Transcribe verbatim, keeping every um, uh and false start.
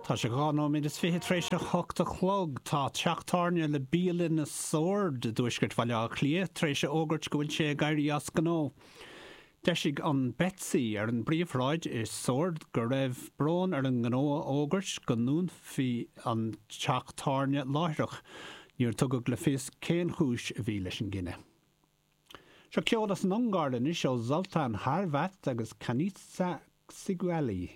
Tá sé dhá nóiméad is fiche tar éis a hocht a chlog tá teach tábhairne le bialann i Sord i dtuaisceart Bhaile Átha Cliath tar éis a fhógairt go bhfuil sé ag éirí as gnó. D'eisigh an Betsy ar an bpríomhshráid i Sord go raibh brón ar an ngnó a fhógairt go ndúnfaí an teach tábhairne láithreach, níor tugadh le fios cén chúis a bhí leis an gcinneadh. Seo ceol as an Ungáir anois ó Zoltán Horváth agus Kanizsa Csigeli.